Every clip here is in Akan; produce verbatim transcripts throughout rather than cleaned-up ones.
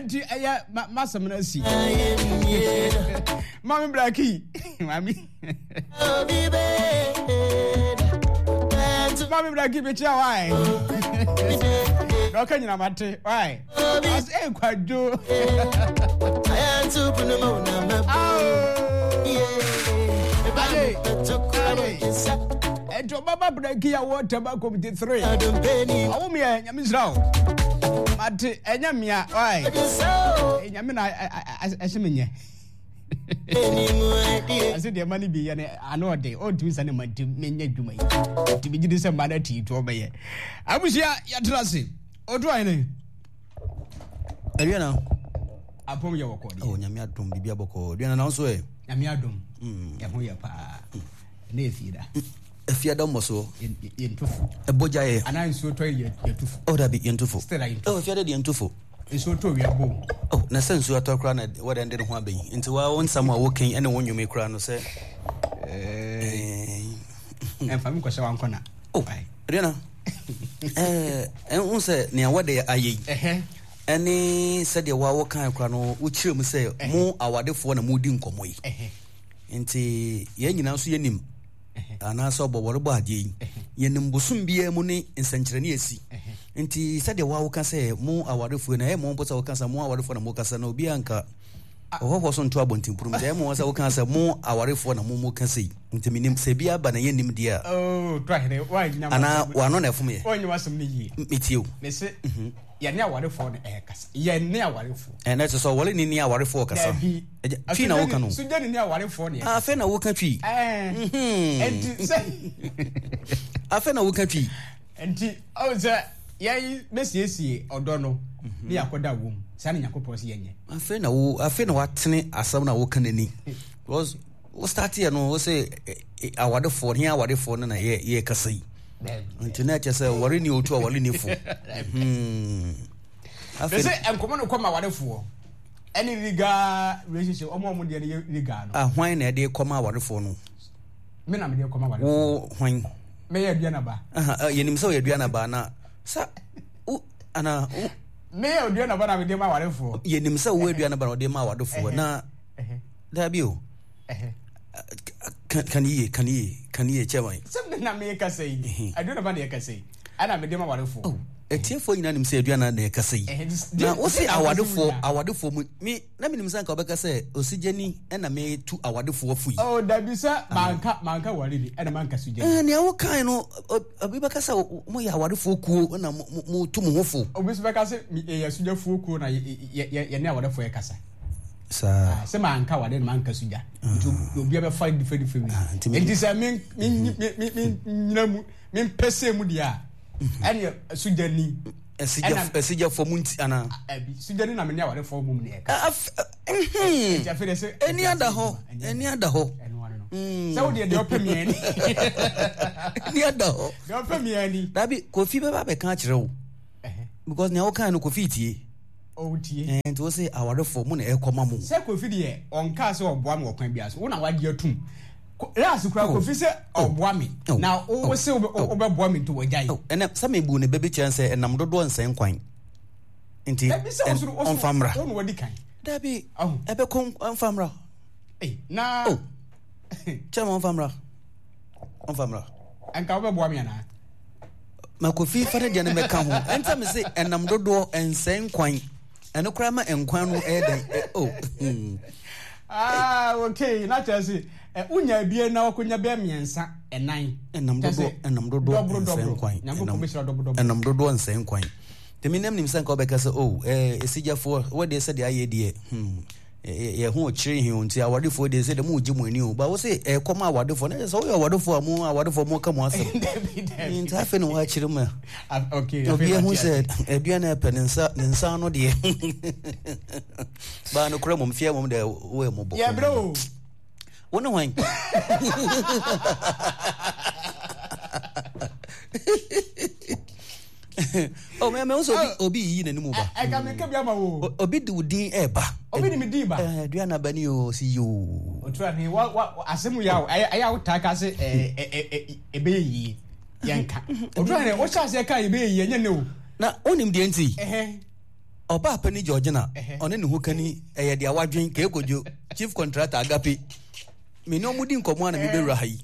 Enti ɛyɛ masɛm no asi. Mami Blackie, mami. Mami Blackie mekyia wae. Na ɔka nyina mate wae. Ɔsɛ eh kwadwo. Enti ɔbaba Blackie a wɔ Taba Committee three. Ɔwo meɛ nyame nhyira wo. Mate ɛnyɛ mmea wae. Nyame na ɛhyɛ me nyɛ. Ɛsɛ deɛ ma no bi yɛ no ano ɔde ɔntumi sɛ ne ma nti menyɛ adwuma yi nti megye di sɛ mma no atii to ɔbɛyɛ. Abusua yɛtena ase ɔtu ahene. Aduana. Apɔm yɛ wɔkɔ deɛ. Oh, nyame adom biribi abɔkɔ. Aduana na nso ɛ. Nyame adom. Ɛho yɛ paa. Ɛnɛ efie da. Efie da mmɔ soɔ. Yɛntu fo. Ɛbɔ gya yɛ. Anaa nsuo tɔ yɛ yɛtu fo. Oh dabi yɛntu fo. Still a yɛntu fo. Oh efie da deɛ yɛntu fo. Nsuo tɔ wia bom. Oh na sɛ nsuo atɔ koraa na wɔde ɛnde ne ho abɛyi. Nti wa wo nsɛm a wokan ɛne wo nnwom yi koraa no sɛ. Ɛnfa mi nkɔhyɛ wankɔ na. Oh Aduana. Ɛɛ ɛn sɛ nea wɔde ayɛ yi. Ɛne sɛdeɛ wa wokan koraa no wokyerɛ mu sɛ mo awadefoɔ na modi nkɔmmɔ yi. Nti yɛn nyinaa nso yɛnim anaasɛ ɔbɔ wɔrebɔ adeɛ yi yɛnim bosom biara mu ne nsɛnkyerɛnne asi. Nti sɛdeɛ wa woka sɛ mo awarefoɔ na ɛyɛ mo mpo sɛ woka sɛ mo awarefoɔ na mokasa na obiara nka ɔhɔhoɔ so nto abɔntenpono mu. Ɛyɛ mo sɛ woka sɛ mo awarefoɔ na mo mo ka sei. Nti menim sɛ bi aba na yɛnnim deɛ a. Oh, anaa wano na ɛfom yɛ. Metie o. Mese yɛne awarefoɔ no ɛkasa. Yɛne awarefoɔ. Ɛnɛ kyerɛ sɛ ɔware ni ne awarefoɔ kasa. Dabi. Twi na woka no. Sugyani ne awarefoɔ ne ɛkasa. Afei na woka twi. Ɛnti sɛ. Afei na woka twi. Nti ɔwɔ sɛ yɛn bɛsiesie ɔdɔ no ne yɛakɔda wɔ mu saa ne Nyankopɔn sɛ yɛnyɛ. Afei na wo afei na watene asɛm na woka n'ani. Because wo start yɛ no wo sɛ awarefoɔ ne awarefoɔ no na yɛ yɛ kasa yi. Nti na ɛkyɛ sɛ ɔware ni otu aware ni fo. Afei sɛ nkɔmɔ no kɔ ma awarefoɔ ɛne legal relationship ɔmo ɔmo deɛ no yɛ legal no. Ah, hwan na ɛde kɔ ma awarefoɔ no? Me na mede kɔ ma awarefoɔ. Wo hwan? Mɛyɛ aduana ba. Aha, yɛnim sɛ ɔyɛ aduana ba na sa wo ana wo. Mɛyɛ aduana ba na mede ma awarefoɔ. Yɛnim sɛ wo aduana ba na ɔde ma awarefoɔ na dabi o. Kan yie, kan yie, kan yie kyɛ. Sɛ me na meyɛ kasa yi, aduana ba na yɛ kasa yi, ɛna mede ma awarefoɔ. Oh, etiefoɔ nyinaa nim sɛ aduana na yɛ kasa yi. Na wo se awarefoɔ, awarefoɔ mu, me na menim sɛ nka wobɛka sɛ osigyani ɛna metu awarefoɔ fo yi. Oh, dabi sɛ manka manka ware bi ɛna manka sugyani. Eh, nea wokae no, obi bɛka sɛ moyɛ awarefoɔ kuo na motu mo ho fo. Obi nso bɛka sɛ yɛyɛ sugyafoɔ kuo na yɛne awarefoɔ yɛ kasa. Saa. Sɛ manka ware na manka sugya. Nti obi bɛfa different different way. Nti sɛ me me me me nyina mu me mpɛsɛ mu deɛ a ɛne sugyani. Esigyafo mu nti ana. Ɛbi sugyani na me ne awarefoɔ mu ne ɛka. Nti afei de sɛ. Ɛni ada hɔ ɛni ada hɔ. Sɛ wo deɛ deɛ ɔpɛ mmiɛ ni. Ɛni ada hɔ. Deɛ ɔpɛ mmiɛ ni. Dabi Kofi bɛba bɛka akyerɛ wo. Because nea wokae no Kofi tie. Ɔtie. Nti wo se awarefoɔ mu na ɛkɔ ma mo. Sɛ Kofi deɛ ɔnkaa sɛ ɔboa me wɔ kwan biara so wo na wagye atum. Last kura Kofi sɛ ɔboa me na wo se wobɛboa me nti wɔgyae. Ɛnɛ sɛ mebu ne bɛbi kyerɛ sɛ ɛnam dodoɔ nsɛn kwan. Nti ɔmfa mmra. Wo na wadi kan. Dabi ɛbɛkɔ ɔmfa mmra. Na kyɛ ma ɔmfa mmra. Ɔmfa mmra. Ɛnka wobɛboa me anaa? Ma Kofi fa ne deɛ no mɛka ho. Ɛnta me se ɛnam dodoɔ nsɛn kwan. Ɛno koraa ma nkwan no ɛyɛ dɛn? Oh. Ah, okay. Na kyerɛ sɛ wonya abien na wakɔnya bɛɛ mmiɛnsa ɛnan. Ɛnam dodoɔ ɛnam dodoɔ nsɛn kwan. Ɛnam dodoɔ nsɛn kwan. Tèmi nam nim sɛ nka wobɛka sɛ oh ɛɛ esigyafoɔ wɔdeɛ sɛdeɛ ayɛ deɛ hmm yɛ ho ɔkyerɛ hin o nti awadefoɔ deɛ sɛ deɛ mo gye mo ani o ba wo sɛ ɛkɔ ma awadefoɔ na kyerɛ sɛ woyɛ awadefoɔ a mo awadefoɔ mo ka mo asɛm. Nti afei na wɔakyerɛ mu a obi ehu sɛ aduane ɛpɛ ne nsa ne nsa ano deɛ baa no kura mom fie mom deɛ woyɛ mɔbɔ. Yɛ brɛ o. Wo ne hwan? Oh, me me nso obi obi yi n'anim ba. Ɛka mi ka bi ama wo. Obi di wo din ɛɛba. Obi di mi din ba. Ɛɛ aduane aba ni o si yoo. Otura ni wa wa asɛm yi awo ɛyɛ ɛyɛ awo taa ka se ɛɛ ɛɛ ɛbɛyɛ yie yɛn ka. Otura ni o hyɛ aseɛ ka ɛbɛyɛ yie ɛnyɛ ne o. Na onim deɛ nti. Ɔbaa pani Georgina, ɔne ne ho kani ɛyɛ deɛ wadwen keekodwo chief contractor agape. Me ne ɔmo di nkɔmɔ a na mebɛwura ha yi.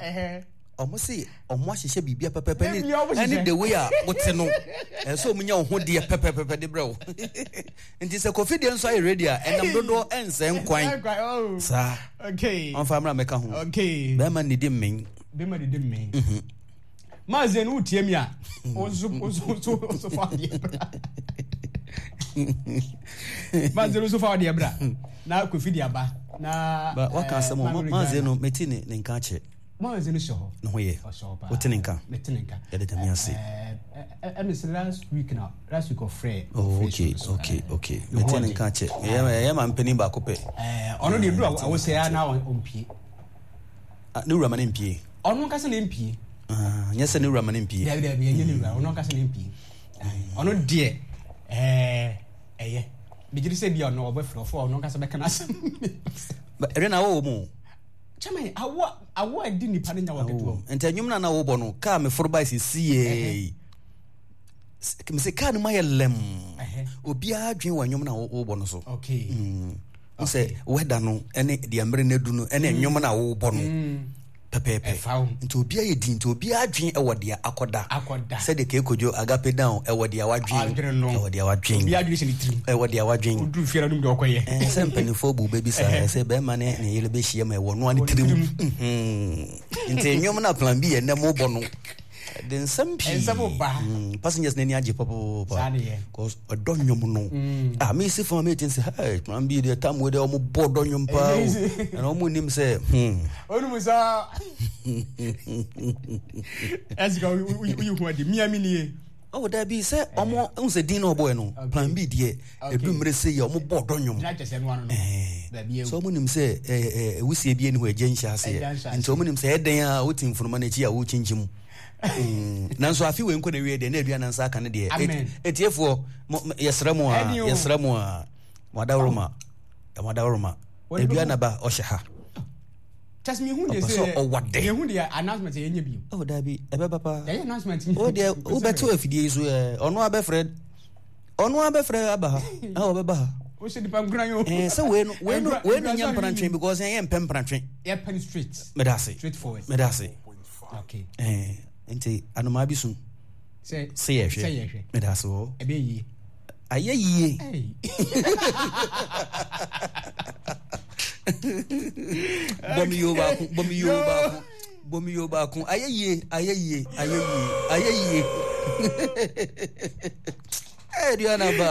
Ɔmo se ɔmo ahyehyɛ biribia pɛpɛpɛ ne ɛne the way a wote no. Ɛsɛ ɔmo nya wo ho deɛ pɛpɛpɛpɛ de brɛ wo. Nti sɛ Kofi deɛ nso ayɛ ready a, ɛnam dodoɔ ɛnsɛ nkwan. Saa. Ɔmfa mmra mɛka ho. Bɛrima nnidi mmen. Bɛrima didi mmen. Maaze no wotie mi a, wo nso wo nso wo nso fa deɛ bra. Maaze no nso fa deɛ bra. Na Kofi de aba. Na ba waka asɛm o. Maaze no meti ne ne nka akyɛ. Maaze no hyɛ hɔ. Ne ho yɛ. Ɔhyɛ hɔ paa. Wote ne nka. Mete ne nka. Yɛde Nyame ase. Ɛmi sɛ last week na last week ɔfrɛ. Oh okay okay okay. Mete ne nka akyɛ. Ɛyɛ ɛyɛ ma mpanin baako pɛ. Ɔno deɛ duru a awosɛ ya na ɔmpie. Ne wura ma ne mpie. Ɔno nkasa ne mpie. Nyɛ sɛ ne wura ma ne mpie. Dabi dabi ɛnyɛ ne wura, ɔno nkasa ne mpie. Ɔno deɛ ɛɛ ɛyɛ. Megyere sɛ bi a ɔno ɔbɛfrɛ ɔfo ɔno nkasa bɛka n'asɛm. Ɛdɛ na awɔ wɔ mu. Kyɛmɛ awo awo a ɛdi nipa ne nya wɔ ketewa mu. Nti ɛnwom na na wɔbɔ no kaa me foro ba sisi yee. Mese kaa no mu ayɛ lɛm. Obiara dwen wɔ ɛnwom na wɔbɔ no so. Okay. Mm. Sɛ wɛda no ɛne deɛ mmere no adu no ɛne nnwom no a wobɔ no pɛpɛɛpɛ nti obiara yɛ din nti obiara adwen ɛwɔ deɛ akɔda sɛdeɛ keekodwo agape down ɛwɔ deɛ wadwen ɛwɔ deɛ wadwen ɛwɔ deɛ wadwen sɛ mpanimfoɔ bu bɛbi saa sɛ bɛrima ne ne yere bɛhyia ma ɛwɔ noa ne tirim nti nnwom no a plan B yɛ nnɛ mobɔ no de nsɛm pii mm, passengers n'ani agye papaapa cause ɔdɔ nnwom no mm. ah mesi fam a meti sɛ hey man bi deɛ tam wei deɛ ɔmo bɔ ɔdɔ nnwom paa o ɛna ɔmo nim sɛ hmm ɔnum saa ɛsika woyi ho adi mia mi nie ɔwɔ dabi sɛ ɔmo n sɛ din na ɔbɔɛ no plan B deɛ edu mmiri se yɛ ɔmo bɔ ɔdɔ nnwom sɛ ɔmo nim sɛ ɛɛ ɛwusie bi ɛni hɔ ɛgye nhyɛ aseɛ nti ɔmo nim sɛ ɛdɛn a wote nfunuma n'akyi a wokyinkyim nanso afi wei nkɔ na wie deɛ na aduane nsa aka ne deɛ etiefoɔ yɛsrɛ mo a yɛsrɛ mo a mo adaworoma mo adaworoma aduane ba ɔhyɛ ha. Kyɛsɛ mi hu de sɛ ɔwɔ de. Yɛn hu de announcement yɛn nye bi. Ɔ dabi ɛbɛba paa. Yɛyɛ announcement. O deɛ wobɛto afidie yi so ɛ ɔno abɛfrɛ ɔno abɛfrɛ aba ha a ɔbɛba ha. O ṣe nipa nkura yi o. Ɛɛ sɛ wei no wei no wei no nyɛ mprantwe because yɛn yɛ mpɛ mprantwe. Yɛ pɛ no straight. Mɛda ase. Straight forward. Mɛda ase. Okay. Ɛɛ nti anomaa bi sun. Sɛ sɛ yɛ hwɛ. Sɛ yɛ hwɛ. Mɛda ase wɔ. Ɛbɛ yie. Ayɛ yie. Bɔmi yoo baako bɔmi yoo baako bɔmi yoo baako ayɛ yie ayɛ yie ayɛ yie ayɛ yie. Aduana ba.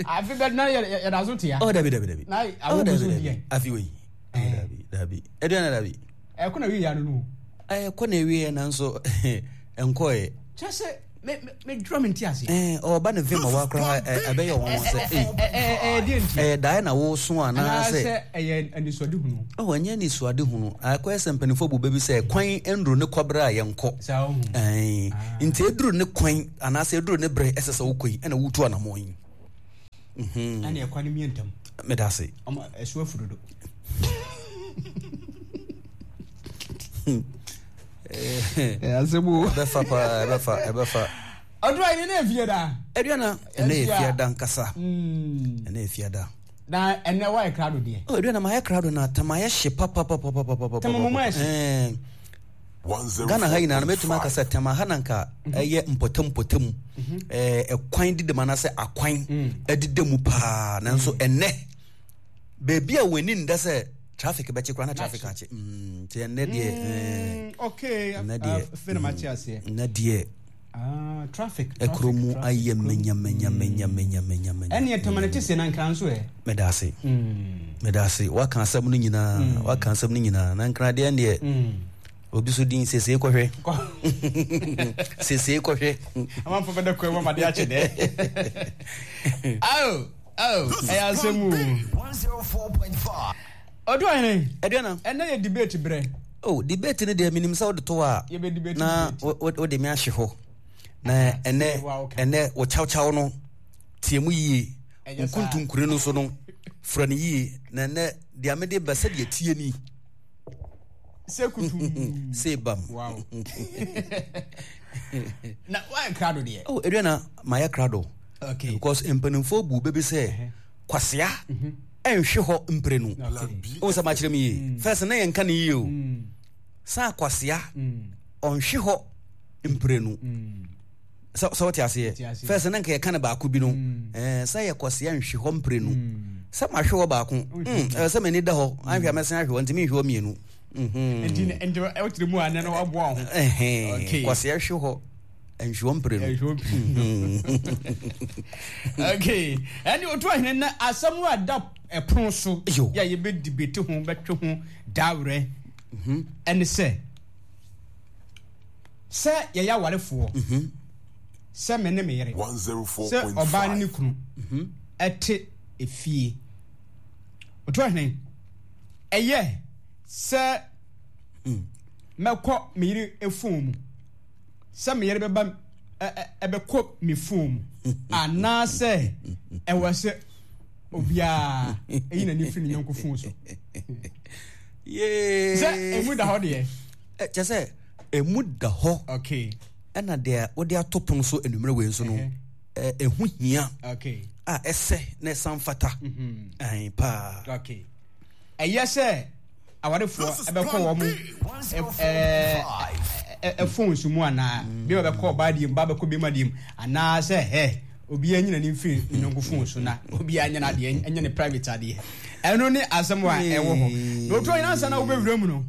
Afi bɛ na yɛ da so tia. Ɔ dabi dabi dabi. Na awo bi so diɛ. Afi wei. Dabi dabi. Aduana dabi. Ɛkɔ na wie ya no no. Ɛkɔ na wie nanso ɛnkɔɛ. Kyɛ sɛ me me dura me nti ase. Ɛɛ ɔba ne vim a wakora ɛbɛyɛ wɔn sɛ ee. Ɛɛ deɛ nti. Ɛyɛ dae na woso anaasɛ. Anaasɛ ɛyɛ anisoade hunu. Ɔwɔ ɛnyɛ anisoade hunu akɔyɛ sɛ mpanimfoɔ bu bɛ bi sɛ kwan nduru ne kɔbrɛ a yɛnkɔ. Saa ohun. Ɛɛ nti eduru ne kwan anaasɛ eduru ne brɛ ɛsɛ sɛ wokɔ yi ɛna wotu anamɔ yi. Ɛna ɛkwan no mie ntam. Meda ase. Ɔmo ɛso afu dodo. Asɛm o. Ɛbɛfa paa ɛbɛfa ɛbɛfa. Ɔdɔ ayi ne efie da. Aduana ɛnɛ yɛ fie da nkasa. Ɛnɛ yɛ fie da. Na ɛnɛ wa yɛ krado deɛ. Ɔ aduana ma yɛ krado na tama yɛ hye papapapapapa. Tama mo ma yɛ hye. Ghana ha nyinaa no mɛtumi aka sɛ tama ha na nka ɛyɛ mpɔtam mpɔtam ɛkwan deda mu anaasɛ akwan ɛdeda mu paa nanso ɛnɛ baabi a wɔn ani nda sɛ traffic bɛkye koraa na traffic akye nti ɛnɛ deɛ okay ɛnɛ deɛ fɛn ma kye aseɛ ɛnɛ deɛ ah traffic ɛkuro mu ayɛ menya menya menya menya menya menya ɛne ɛtɔmɔ ne te se na nkran so ɛ mɛda ase mɛda ase waka asɛm no nyinaa waka asɛm no nyinaa na nkran deɛ deɛ obi so din sese kɔhwɛ sese kɔhwɛ amanfo bɛda kwan mu amade akyɛ dɛ ao ao ɛyɛ asɛm o ɔdo ahene aduana ɛnɛ yɛ debate berɛ oh debate no deɛ menim sɛ wode to a na wode me ahye hɔ na ɛnɛ ɛnɛ wo kyawkyaw no tie mu yie nkontonkure no so no fura no yie na ɛnɛ deɛ mede bɛ sɛdeɛ tie ni sɛ kutu sɛ bam wow na wayɛ krado deɛ oh aduana mayɛ krado Okay. Because mpanimfoɔ bu bɛbi sɛ kwasea ɛnhwe hɔ mprenu. Okay. Wo sɛ makyerɛ me yie. First na yɛnka ne yie o. Saa kwasea ɔnhwe hɔ mprenu. Sɛ sɛ wote aseɛ. Te aseɛ. First na nka yɛka ne baako bi no. Ɛɛ sɛ yɛ kwasea nhwe hɔ mprenu. Sɛ mahwe hɔ baako. Mm, ɛwɔ sɛ m'ani da hɔ. Anhwɛ a mɛsan ahwe hɔ nti menhwe hɔ mmienu. Mhm. Nti nti wotiri mu a nɛ no waboa wo ho. Ɛhɛn. Okay. Kwasea hwe hɔ nhwe hɔ mprenu. Ɛhwɛ obi. Okay. Ɛne otu ahene na asɛm no a da ɛpono so Yo. yɛ a yɛbɛ debate ho bɛtwe ho daawerɛ ɛne sɛ sɛ yɛyɛ awarefoɔ sɛ me ne me yere sɛ ɔbaa ne ne kunu ɛte efie otu ahene ɛyɛ sɛ mɛkɔ me yere phone mu sɛ me yere bɛba ɛ- ɛ- ɛbɛkɔ me phone mu anaasɛ ɛwɔ sɛ obiara ɛyi n'ani firi ne yɔnko phone so Yee. sɛ emu da hɔ deɛ Ɛ, kyɛ sɛ emu da hɔ okay ɛna deɛ wode ato pono so anwummerɛ wei nso no Ɛhɛ. ɛ, ɛho hia okay a ɛsɛ na ɛsan fata ɛn paa okay ɛyɛ sɛ awarefoɔ ɛbɛkɔ wɔn ɛ phones mu anaa bi ma bɛkɔ ɔbaa deɛ mu ba bɛkɔ bɛrima deɛ mu anaasɛ ɛ obiara nyina ne mfiri ne yɔnko phone so na obiara nyɛ n'adeɛ ɛnyɛ ne private adeɛ ɛno ne asɛm a ɛwɔ hɔ na otu ɔyɛ ansa na wobɛwura mu no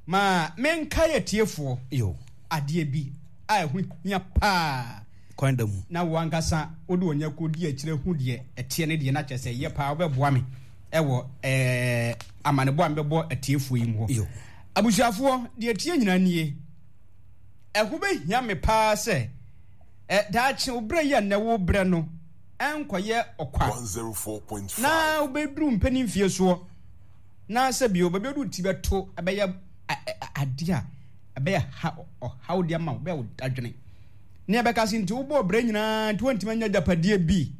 ma menka yɛ tiefoɔ yo adeɛ bi a ɛho hia paa kwan da mu na wo ankasa wode wɔn akɔ di akyire hu deɛ ɛteɛ ne deɛ na kyerɛ sɛ yɛ paa wobɛboa me ɛwɔ ɛɛ amanebɔ a mebɛbɔ atiefoɔ yi mu hɔ yo abusuafoɔ deɛ tie nyinaa nie ɛho bɛhia me paa sɛ ɛ daakye wo berɛ yi a nnɛ wo berɛ no ɛnkɔyɛ ɔkwa na wobɛduru mpanin mfie soɔ na sɛ bio baabi a wode wo ti bɛto ɛbɛyɛ a- ɛ- ɛ- adeɛ a ɛbɛyɛ ha ɔhaw de ama wo bɛyɛ wo dadwene ne ɛbɛka se nti wobɔɔ berɛ nyinaa nti woantumi anya agyapadeɛ bi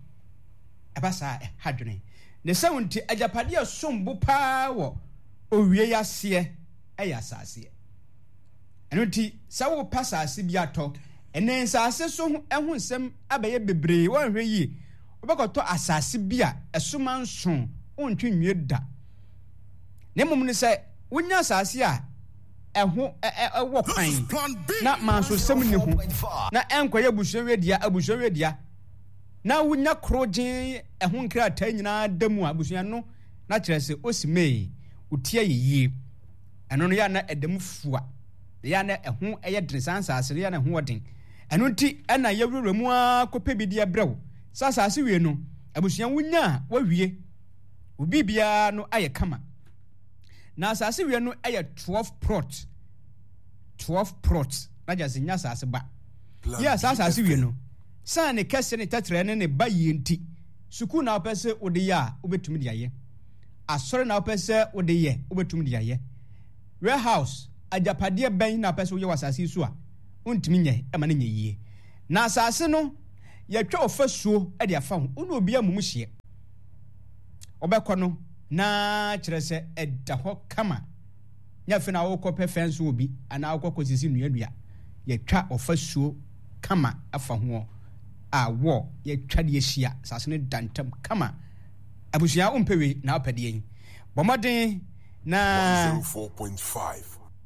ɛba saa ɛha dwene ne sɛ wo nti agyapadeɛ a som bo paa wɔ owie yi aseɛ ɛyɛ asaseɛ ɛno nti sɛ wopɛ asase bi atɔ ɛnɛ nsase so ho ɛho nsɛm abɛyɛ bebree wɔnhwɛ yie wobɛkɔtɔ asase bi a ɛsoma nson wontwe nwie da na mmom no sɛ wonya asase a ɛho ɛ- ɛ- ɛwɔ kwan na mansosɛm nni ho na ɛnkɔyɛ abusua wedia abusua wedia na wonya koro gyee ɛho nkrataa nyinaa da mu a abusua no na kyerɛ sɛ osi mee wotia yɛ yie ɛno no yɛ na ɛda mu fua yɛ na ɛho ɛyɛ den saa nsase no yɛ na ɛho ɔden ɛno nti ɛna yɛwurawura mu ara kɔpɛ bi de abrɛ wo sɛ asase wie no abusua wonya a wawie obi biara no ayɛ kama na asase wie no ɛyɛ twelve plot twelve plot na gya sɛ nya asase ba yɛ saa asase wie no san ne kɛse ne tɛtrɛ ne ne ba yie nti sukuu na wopɛ sɛ wode yɛ a wobɛtumi de ayɛ asɔre na wopɛ sɛ wode yɛ wobɛtumi de ayɛ warehouse agyapadeɛ bɛn na wopɛ sɛ woyɛ wɔ asase yi so a wontumi nyɛ ɛma no nyɛ yie na asase no yɛtwa ɔfasuo de afa ho wo ne obi amumu hyeɛ wobɛkɔ no na kyerɛ sɛ ɛda hɔ kama nyɛ afei na wokɔpɛ fɛnso wɔ bi anaa wokɔ kɔsisi nnuadua yɛtwa ɔfasuo kama afa ho a wɔ yɛtwa de ahyia asase no da ntam kama abusua wompɛ wei na wopɛ deɛ yi bɔ mmɔden na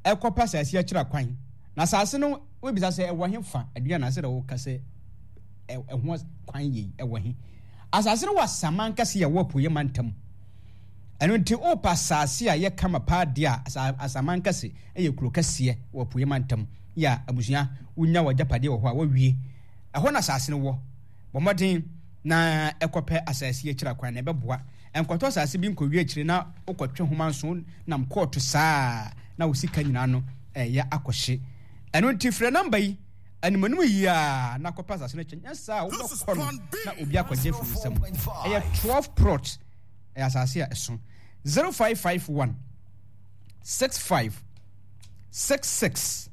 ɛkɔpa asase akyira kwan na asase no wobisa sɛ ɛwɔ he fa aduane ase dɛ woka sɛ ɛ- ɛho kwan yei ɛwɔ he asase no wɔ asaman kɛse yɛ wɔ apueɛ mantam ɛno nti wopɛ asase a yɛ kama paa deɛ a asa- asaman kɛse ɛyɛ kuro kɛseɛ wɔ apueɛ mantam yɛ a abusua wonya wɔ agyapadeɛ wɔ hɔ a wawie ɛhɔ na asase no wɔ bɔ mmɔden na ɛkɔpɛ asase akyira kwan na ɛbɛboa nkɔtɔ asase bi nkɔwie akyire na wokɔtwe homa nso nam kɔɔto saa na wo sika nyinaa no ɛyɛ akɔhye ɛno nti frɛ number yi animanim yie a na kɔpɛ asase no kyɛ nyɛ saa a wobɛkɔ no na obi akɔgye firi nsam ɛyɛ twelve plot ɛyɛ asase a ɛso zero five five one six five six six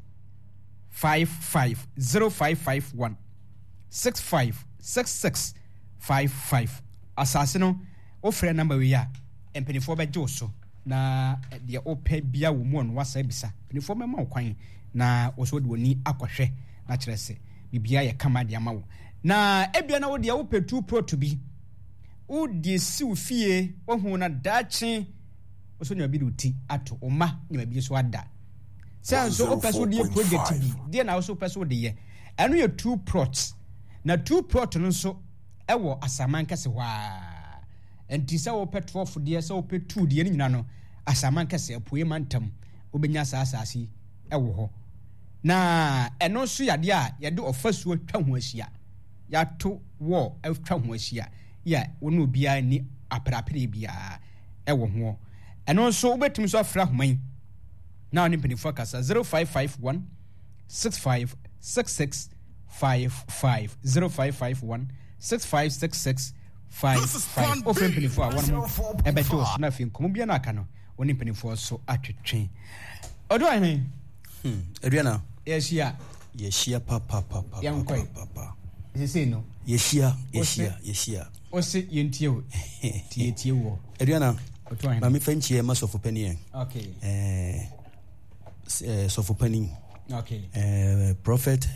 five five zero five five one six five six six five five asase no wofrɛ number wei a mpanimfoɔ bɛgye wo so na deɛ wopɛ bia wɔ mu ɔno wasa bisa mpanimfoɔ bɛma wo kwan na wo so wode w'ani akɔhwɛ na kyerɛ sɛ biribiara yɛ kama de ama wo Na ebia na wo deɛ wopɛ two plot bi, wode si wo fie, wohu na daakye wo so nneɛma bi de wo ti ato, wo mma nneɛma bi so ada. Sɛ nso wopɛ so wode project bi, deɛ na wo so wopɛ so wode yɛ. Ɛno yɛ two plots. Na two plot no nso ɛwɔ Asaman kɛse hɔ a. Nti sɛ wopɛ twelve deɛ, sɛ wopɛ two deɛ, ne nyinaa no Asaman kɛse apuei mantam wobɛnya saa asase yi ɛwɔ hɔ. Na ɛno nso yɛ adeɛ a yɛde ɔfasuo atwa ho ahyia, yɛato wall atwa ho ahyia yɛ a wo ne obiara nni aperapere biara ɛwɔ ho. Ɛno nso wobɛtumi nso afrɛ ahoma yi na wo ne mpanimfoɔ akasa zero five five one six five six six five five zero five five one six five six six five five. Wofrɛ mpanimfoɔ a wɔn mo ɛbɛgye wo so na afei nkɔmmɔ biara no aka no wo ne mpanimfoɔ so atwetwe. Ɔdɔ ahene. Hmm. Aduana. Yɛhyia. Yɛhyia papapapa. Yɛnkɔe. Sesei no. Yɛhyia, yɛhyia, yɛhyia. Ose yɛntie o. Tie tie wɔ. Aduana. Maame fa nkyia ma sɔfo panin ɛ. Okay. Eh, eh, sɔfo panin. Okay. Eh, prophet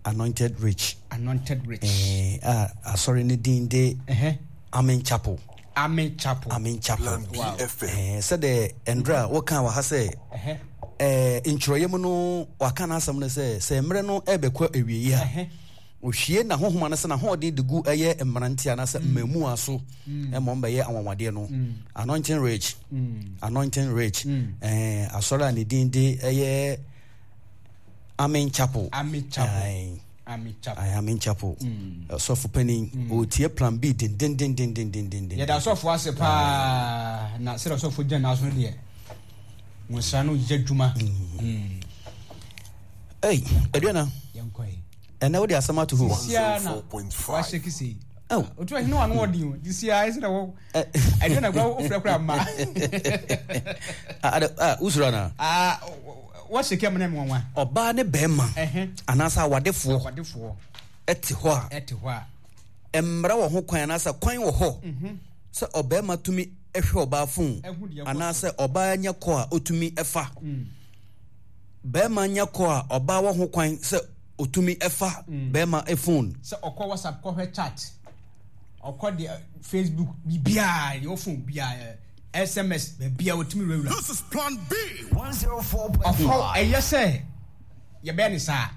Anointed Rich. Anointed Rich. Eh, a asɔre ne din de. Uh-huh. Amen Chapel. Amen Chapel. Amen Chapel. Wow. Eh, sɛdeɛ ɛndra wɔka wɔ ha sɛ eh, ntwerɛeɛ mu no waka n'asɛm no sɛ sɛ mmerɛ no ɛbɛkɔ awieyi a ohwie n'ahohoma no sɛ n'ahoɔden de gu ɛyɛ mmeranteɛ anaasɛ mmamua so ɛma wɔn bɛyɛ anwanwadeɛ no. Anointing Rich. Anointing Rich. Eh, asɔre a ne din de ɛyɛ Amen Chapel. Amen Chapel. Amen Chapel. Aye, Amen Chapel. Sɔfo panin, ɔretie Plan B dendendendendendenden. Yɛda sɔfo ase paa na sɛdeɛ sɔfo gyina n'aso no deɛ, nwosra no yɛ adwuma. Ei, Aduana. Yɛnkɔ yi. Ɛnɛ wode asɛm ato hɔ. Sisia na wahyɛ kise. Otu ahene wa no ɔden o. Sisia ɛsɛ na wɔ. Aduana kura wofrɛ kura mma. Ah, ah, wosuro anaa? Ah, wɔhyɛ kɛ mu na nwanwa. Ɔbaa ne bɛrima anaasɛ awadefoɔ Awadefoɔ ɛte hɔ a ɛte hɔ a mmara wɔ ho kwan anaasɛ kwan wɔ hɔ sɛ ɔbɛrima tumi hwɛ ɔbaa phone anaasɛ ɔbaa nya kɔ a ɔtumi ɛfa. Bɛrima nya kɔ a ɔbaa wɔ ho kwan sɛ ɔtumi ɛfa bɛrima phone. Sɛ ɔkɔ WhatsApp kɔhwɛ chat, ɔkɔ deɛ Facebook biribiara deɛ ɔphone biara S M S baabiara ɔtumi wurawura. This is Plan B one zero four point Ɔkɔ five. ɛyɛ sɛ yɛbɛyɛ ne saa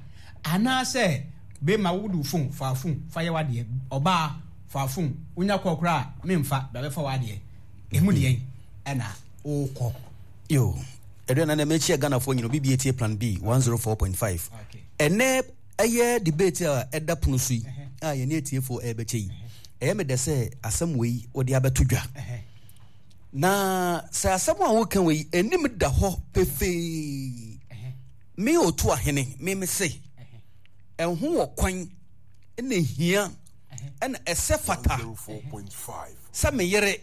anaasɛ bɛrima wode wo phone fa phone fa yɛ w'adeɛ, ɔbaa fa phone wonya kɔ koraa memfa bra bɛfa w'adeɛ, emu deɛ ɛna wokɔ. Yo, Aduana na mekyia Ghanafoɔ nyina obi bi etie Plan B one zero four point five. Okay. Ɛnɛ ɛyɛ debate a ɛda pono so yi a yɛne atiefoɔ ɛrebɛkyɛ yi. Ɛyɛ me dɛ sɛ asɛm wei wɔde abɛto dwa. Na sɛ asɛm a woka wei anim da hɔ pefee. Me otu ahene, me me se ɛho wɔ kwan na ehia ɛna ɛsɛ fata sɛ me yere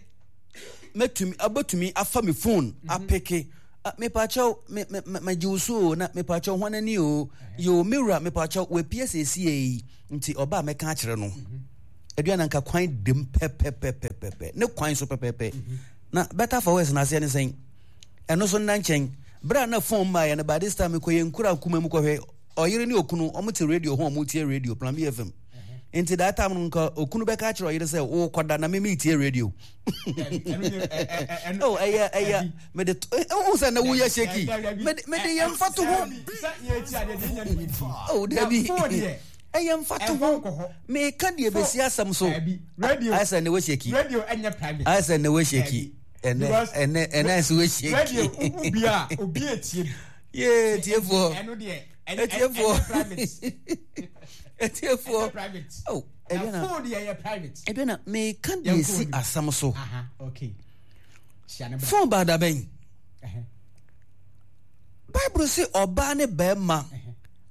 mɛtumi abɛtumi afa me phone apeke. Mepakyɛw me me me gye wo so o, na mepakyɛw hwan ani o, yo me wura mepakyɛw wapie siesie yi nti ɔba a mɛka akyerɛ no. Aduana nka kwan dem pɛpɛpɛpɛpɛ ne kwan so pɛpɛpɛ. Na better for worse na aseɛ ne sɛn ɛno so nna nkyɛn berɛ a na phone mmaeɛ no by this time mekɔ yɛn nkura nkuma mu kɔhwɛ ɔyere ne okunu ɔmo te radio ho ɔmo tie radio Plan B F M. Nti that time no nka okunu bɛka akyerɛ ɔyere sɛ wokɔda na me metie radio. Oh, ɛyɛ ɛyɛ mede wohu sɛ na woyɛ shaky mede mede yɛ mfa to ho. Oh, dabi ɛyɛ mfa to ho. Meka deɛ bɛsi asɛm so. Ayɛ sɛ ne wo shaky. Ayɛ sɛ ne wo shaky. Ɛnɛ ɛnɛ ɛnɛ ayɛ sɛ wo shaky. Radio obi a obi etie bi. Yee tiefoɔ. Ɛno deɛ Etiefoɔ. ɛnyɛ private. Etiefoɔ. Ɛnyɛ private. Oh, Na Aduana. phone deɛ ɛyɛ private. Aduana, meka deɛ si asɛm so. Aha, okay. Hyia ne bra. Phone baada bɛn? Bible sɛ ɔbaa ne bɛrima,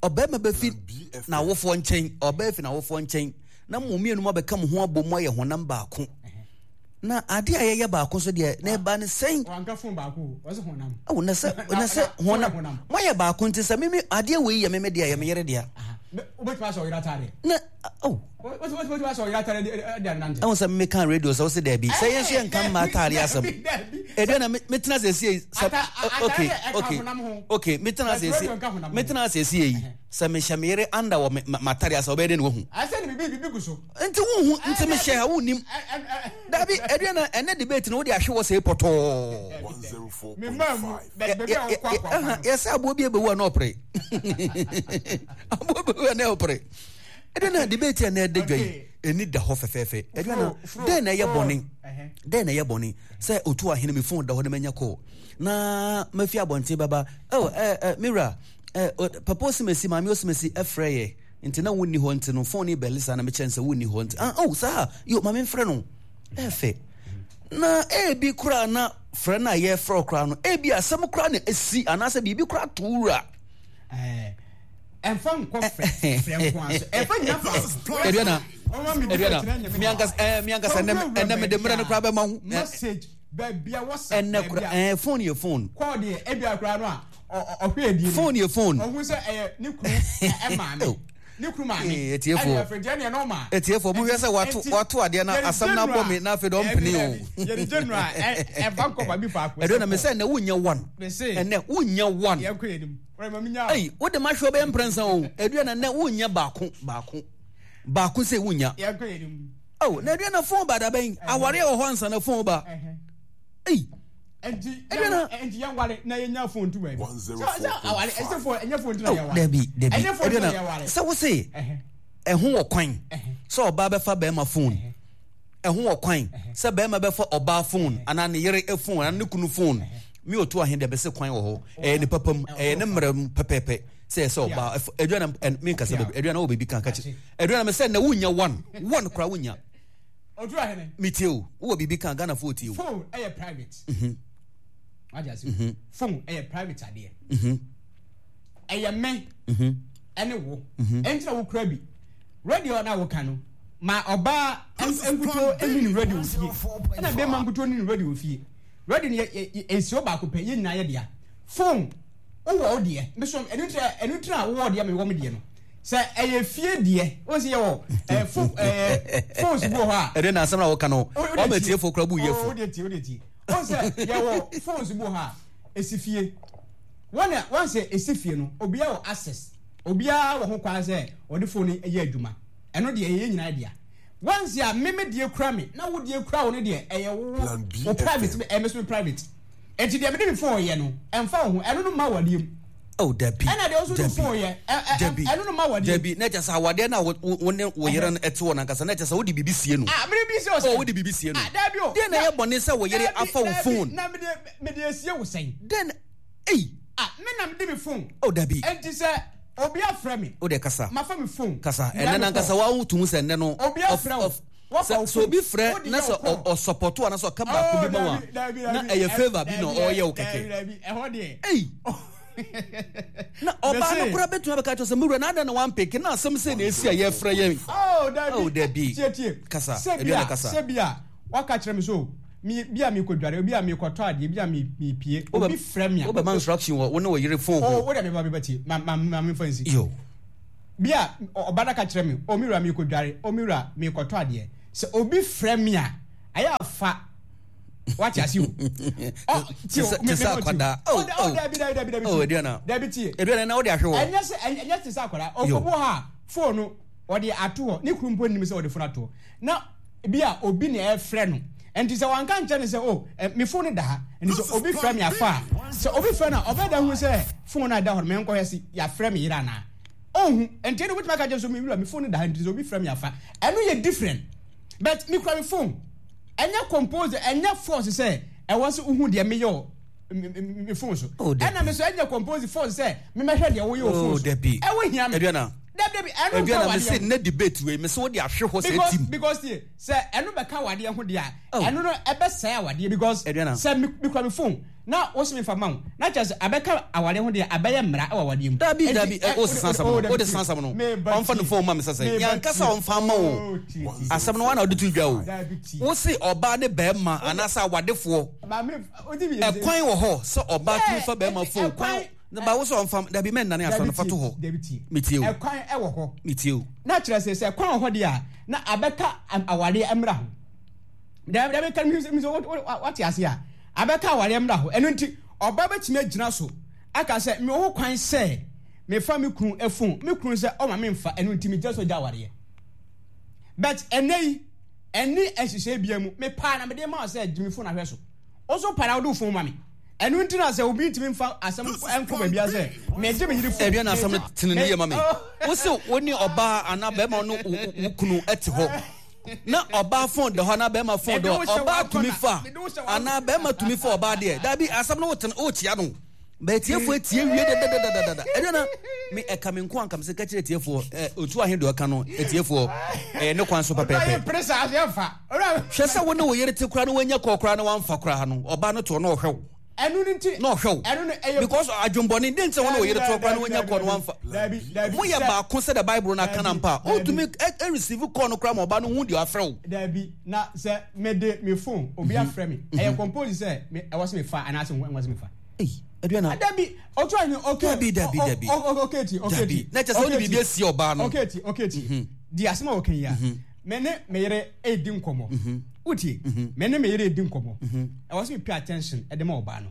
ɔbɛrima bɛfi n'awofoɔ nkyɛn, ɔbaa fi n'awofoɔ nkyɛn, na mo mmienu mo abɛka mo ho abɔ mu ayɛ honam baako. Na ade a yɛyɛ baako so deɛ, na ɛba ne sɛn? Wanka phone baako, ɔsɛ honam. Oh, na sɛ, na sɛ honam. Moayɛ baako nti sɛ mimi adeɛ wei yɛ mimi deɛ, yɛ me yere deɛ. Wobɛtumi ahyɛ ɔyere ataadeɛ. Na oh. Wobɛtumi ahyɛ ɔyere ataadeɛ de anante. Ɛwɔ sɛ meka radio sɛ wose daabi. Sɛ yɛn nso yɛnka mma ataadeɛ asɛm. Ɛdua na metena sɛ sie sɛ okay okay okay metena sɛ sie metena sɛ sie yi sɛ mehyɛ me yere anda wɔ m'ataadeɛ asɛ ɔbɛyɛ dɛ na wahu. Ɛsɛ ne bibi bibi gu so. Nti wonhu nti mehyɛ ha wonnim. Daabi ɛdua na ɛnɛ debate no wode ahwe wɔ sɛ pɔtɔɔ. Yɛsɛ aboɔ bi ɛbɛwu a na ɔpere. Aboɔ bɛwu a na ɔpere. Ɛdua na debate a na ɛda dwa yi ɛni da hɔ fɛfɛɛfɛ. Ɛdua na dɛn na ɛyɛ bɔne? Dɛn na ɛyɛ bɔne sɛ otu ahene me phone da hɔ na manya call na mafi abɔnten bɛba oh eh eh mewura eh papa osimesi maame osimesi ɛfrɛ yɛ nti na wonni hɔ nti no phone yi bɛle saa na mekyɛn sɛ wonni hɔ nti ah oh saa yo maame mfrɛ no ɛfɛ na ebi koraa na frɛ no a yɛfrɛ koraa no ebi asɛm koraa na esi anaasɛ biribi koraa to wura. Ɛnfa nkɔ frɛ frɛ nko aso ɛnfa nyina fa. Aduana aduana mi ankasa ɛɛ mi ankasa ɛnɛ ɛnɛ mi de mmerɛ no koraa bɛ ma ho. Message baabi a WhatsApp ɛnɛ kora ɛɛ phone yɛ phone. Kɔɔ deɛ ebi akora no a ɔhwɛ edi. Phone yɛ phone. Ɔhu sɛ ɛyɛ ne kunu ɛmaame. Ne kunu maame. Etiefoɔ etiefoɔ mo hwɛ sɛ wato wato adeɛ na asɛm na abɔ mi na afei de ɔmpene o. Yɛde general ɛfa nkɔ baabi faako. Aduana mi sɛ ɛnɛ wunya one. Ɛnɛ wunya one. Yɛn kɔ yɛn nim. Ei, wode ma hwɛ ɔbɛyɛ mprɛnsa o. Aduana nɛ wonya baako baako baako sɛ wonya. Oh, na aduana phone ba da bɛn? Aware wɔ hɔ ansa na phone ba. Ei. Aduana. Enti yɛn ware na yɛnya phone tu baabi. Sɛ sɛ aware ɛsɛ phone ɛnyɛ phone tu na yɛware. Dabi dabi. Aduana sɛ wo se ɛho wɔ kwan sɛ ɔbaa bɛfa bɛrima phone. Ɛho wɔ kwan sɛ bɛrima bɛfa ɔbaa phone anaa ne yere phone anaa ne kunu phone. Mi otu ahen deɛ bɛsɛ kwan wɔ hɔ ɛyɛ ne papa mu ɛyɛ ne mmerɛ mu pɛpɛɛpɛ sɛ ɛsɛ ɔbaa aduana ɛ mi nkasa baabi aduana wɔ baabi kan kakyɛ aduana mi sɛ na wunya one one kora wunya. Otu ahene. Mi tie o wowɔ biribi kan Ghana fo tie o. Phone ɛyɛ private. Wagye ase. Phone ɛyɛ private adeɛ. Ɛyɛ me ɛne wo. Ɛnti na wokura bi. Radio na woka no ma ɔbaa nkuto ɛni ne radio fie ɛna bɛrima nkuto ni ne radio fie. Radio no yɛ nsuo baako pɛ yɛn nyinaa yɛ dea. Phone wowɔ wo deɛ me so ɛno nti ɛno nti na wowɔ deɛ mewɔ me deɛ no sɛ ɛyɛ fie deɛ wɔn sɛ yɛwɔ ɛɛ phone ɛɛ phones bi wɔ hɔ a. Ɛde na asɛm na wɔka no wɔn ma tie fo kura bu yɛ fo. O de tie o de tie wɔn sɛ yɛwɔ phones bi wɔ hɔ a esi fie wɔn a wɔn sɛ esi fie no obiara wɔ access obiara wɔ ho kwan sɛ ɔde phone yɛ adwuma ɛno deɛ ɛyɛ nyinaa dea. Once a me me deɛ kura me na wo deɛ kura wo no deɛ ɛyɛ wo wo private me ɛyɛ me so me private eti deɛ mede me phone yɛ no ɛnfa wo ho ɛno no ma wadeɛ mu. Oh dabi ɛna deɛ ɔso de phone yɛ dabi ɛno no ma wadeɛ mu. Dabi na kyɛ sɛ awadeɛ na wo wo ne wo yere no ɛte wɔ nankasa na kyɛ sɛ wode biribi sie no. Ah mede biribi sie wo sɛn. Oh wode biribi sie no. Ah dabi o. Deɛ na ɛyɛ bɔne sɛ wo yere afa wo phone. Na mede mede esie wo sɛn. Deɛ na ei. Ah me na mede me phone. Oh dabi. Enti sɛ obi afrɛ me. O de kasa. Mafa me phone. Kasa. Ɛnɛ nankasa wa wo tumu sɛ ɛnɛ no. Obi afrɛ wo. Sɛ sɛ obi frɛ na sɛ ɔsɔpɔto anaasɛ ɔka baako bi ma wa na ɛyɛ favour bi na ɔyɛ wo kɛkɛ. Ɛhɔ deɛ. Ei. Na ɔbaa no koraa bɛtumi abɛka kyerɛ sɛ mewura na adɛn na wampeke na asɛm sɛ na ɛsi a yɛfrɛ yɛn. Oh dabi. Oh dabi. Tie tie. Kasa. Aduana kasa. Sɛ bi a waka kyerɛ me so mi bi a mekɔdware obi a mekɔtɔ adeɛ bi a mepie obi frɛ me a wobɛma instruction wɔ wo ne wo yere phone ho. Oh wo deɛ meba meba tie ma ma ma memfa nsi. Yo. Bi a ɔba no ka kyerɛ me o me wura mekɔdware o me wura mekɔtɔ adeɛ sɛ obi frɛ me a ayɛ afa wate ase o. Ɔ tie o me me akwadaa. Oh oh dabi dabi dabi dabi oh aduana dabi tie aduana na wode ahwe hɔ. Ɛnyɛ sɛ ɛnyɛ te sɛ akwadaa ɔkɔbu ha phone no ɔde ato hɔ ne kuru mpo nim sɛ ɔde phone ato hɔ na bi a obi na ɛfrɛ no nti sɛ wanka nkyɛn no sɛ o me phone no da ha nti sɛ obi frɛ me afa a sɛ obi frɛ no a ɔbɛda hu sɛ phone no a ɛda hɔ no menkɔhwɛ se yɛafrɛ me yere anaa ɔnhu nti ɛna obɛtumi aka kyerɛ sɛ me wura me phone no da ha nti sɛ obi frɛ me afa ɛno yɛ different but mekura me phone ɛnyɛ compose ɛnyɛ force sɛ ɛwɔ sɛ wohu deɛ meyɛ o me phone so ɛna me so ɛnyɛ compose force sɛ memɛhwɛ deɛ woyɛ o phone so ɛwɔ hia me aduana dabi dabi ɛno nka aduana wadeɛ me se ne debate wei me se wode ahwe hɔ sɛ because tim because tie sɛ ɛno bɛka wadeɛ ho deɛ a ɛno no ɛbɛsɛe awadeɛ because sɛ me mekura me phone na wo se mefa ma wo na kyerɛ sɛ abɛka awadeɛ ho deɛ abɛyɛ mmara ɛwɔ awadeɛ mu dabi dabi o sesa asɛm no o de sesa asɛm no ɔmfa ne phone ma me sɛ sɛ yankasa ɔmfa ma wo asɛm no wana wode to dwa o wo se ɔbaa ne bɛrima anaasɛ awadefoɔ ɛkwan wɔ hɔ sɛ ɔbaa tumi fa bɛrima phone kwan Na ba wo sɛ ɔmfa dabi mɛnnane asɛm no fa to hɔ. Dabi tie. Metie o. Ɛkwan ɛwɔ hɔ. Metie o. Na kyerɛ sɛ sɛ kwan wɔ hɔ deɛ a na abɛka awareɛ mmra ho. Dabi dabi kan mi sɛ wate ase a abɛka awareɛ mmra ho. Ɛno nti ɔbaa bɛtumi agyina so aka sɛ mewɔ ho kwan sɛ mefa me kunu phone, me kunu sɛ ɔma memfa, ɛno nti megyina so gya awareɛ. But ɛnɛ yi ɛne nhyehyɛe bia mu mepaa na mede ma wo sɛ gye me phone ahwɛ so. Wo nso paa na wode wo phone ma me. Ɛno nti na sɛ obi ntumi mfa asɛm nkɔ baabi a sɛ megye me yere phone. Ɛdeɛ na asɛm no tene ne yie ma me. Wo se wo ne ɔbaa anaa bɛrima no wo kunu te hɔ na ɔbaa phone da hɔ anaa bɛrima phone da hɔ, ɔbaa tumi fa anaa bɛrima tumi fa ɔbaa deɛ. Dabi asɛm no wotene wokyea no. Bɛtiefoɔ etie wie dadadadada. Ɛdeɛ na me ɛka me nko anka me sɛ ka kyerɛ tiefoɔ ɛ otu ahe deɛ ɔka no etiefoɔ ɛyɛ ne kwan so pɛpɛɛpɛ. Hwɛ sɛ wo ne wo yere te koraa na wanya kɔɔ koraa na wamfa koraa no ɔbaa no toɔ na ɔhwɛ wo. Ɛno no nti na ɔhwɛ wo. Ɛno no ɛyɛ because adwembɔne den sɛ wo ne wo yere toɔ koraa na wanya kɔɔ na wamfa. Dabi dabi. Moyɛ baako sɛ the Bible no aka na mpa a ɔntumi ɛ receive kɔɔ no koraa ma ɔbaa no hu deɛ afrɛ wo. Dabi na sɛ mede me phone obi afrɛ me ɛyɛ compose sɛ me ɛwɔ sɛ mefa anaasɛ ɛwɔ sɛ mefa. Ei, Aduana. Dabi, otu ayi okay. Dabi, dabi, dabi. Okay ti, okay ti. Na kyerɛ sɛ wode biribi asie ɔbaa no. Okay ti, okay ti. Di asɛm a wɔka yi a, me ne me yere redi nkɔmmɔ. Wotie? Me ne me yere redi nkɔmmɔ. Ɛwɔ sɛ me pay attention de ma ɔbaa no.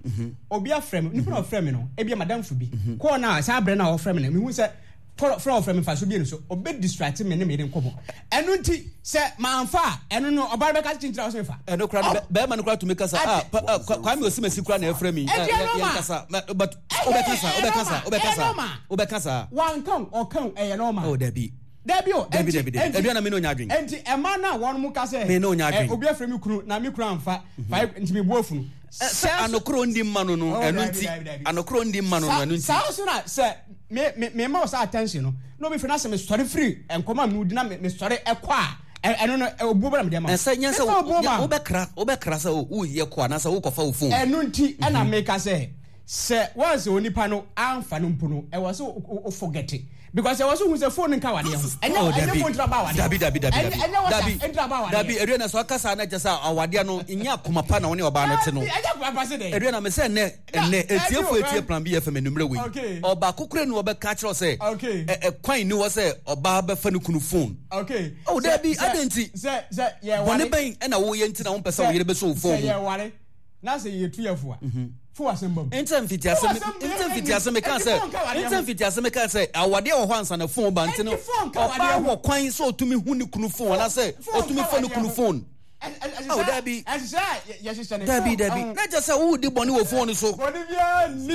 Obi afrɛ me, nipa na ɔfrɛ me no, ebia madamfo bi. Kɔɔ no a, saa berɛ no a ɔfrɛ me no, mehu sɛ frɛ ɔfrɛ me mfaso bi no so, ɔbɛ distract me ne me yere nkɔmmɔ. Ɛno nti, sɛ mamfa a, ɛno no, ɔbaa no bɛka kyinkyini a ɔsɛ mefa. Ɛno kora no, bɛrima no kora tumi kasa. Ah, Kwame Osimesi kora na ɛfrɛ mi. Ɛdi ɛno ma. Kasa, but wobɛka saa, wobɛka saa, wobɛka saa, wobɛka saa. Wanka o, ɔka o, ɛyɛ normal. Oh, dabi. Dabi o, dabi, dabi, dabi. Ɛdua na me ne onya adwen. Enti ɛma no a wɔn mo ka sɛ, me ne onya adwen. Obi afrɛ me kunu na me kunu amfa, fa nti me bu afunu. Sɛ anokoro ndi mma no no, ɛno nti. Anokoro ndi mma no no, ɛno nti. Saa nso na sɛ me me me ma wo saa attention no, na obi frɛ na sɛ me sɔre firi nkɔmɔ a me di na me me sɔre ɛkɔ a, ɛno no obuo bɛ na me de ama. Ɛsɛ nyɛ sɛ wobɛkra wobɛkra sɛ woyɛ kɔ anaasɛ wokɔfa wo phone. Ɛno nti ɛna meka sɛ sɛ wɔn sɛ onipa no amfa no mpo no, ɛwɔ sɛ o forget because ɛwɔ sɛ ohun sɛ phone nka awadeɛ ho. Ɛnyɛ ɛnyɛ phone ntira ba awadeɛ. Dabi dabi dabi dabi. Ɛnyɛ WhatsApp ntira ba awadeɛ. Dabi ɛdua na sɛ ɔkasa na kyɛ sɛ awadeɛ no nyɛ akoma pa na wɔne ɔbaa no te no. Ɛnyɛ akoma pa se dɛ. Ɛdua na mɛ sɛ ɛnɛ ɛnɛ etiefo etie Plan B F M enumere wei. Ɔbaako kura ni ɔbɛka kyerɛ sɛ ɛkwan ni hɔ sɛ ɔbaa bɛfa ne kunu phone. Okay. Oh dabi adan ti. Sɛ sɛ yɛ ware. Bɔne bɛn ɛna woyɛ nti na wɔn pɛ sɛ wɔyere bɛsɔ wo phone mu. Sɛ yɛ ware na sɛ yɛ tu yɛ fo a. Fo asɛm ba mu. Nti mfitiase nti mfitiase meka sɛ nti mfitiase meka sɛ awadeɛ wɔ hɔ ansa na phone ba nti no ɔbaa wɔ kwan sɛ ɔtumi hu ne kunu phone anaasɛ ɔtumi fa ne kunu phone. Oh, dabi. Dabi dabi. Na kyerɛ sɛ wodi bɔne wɔ phone so. Bɔne biara nni.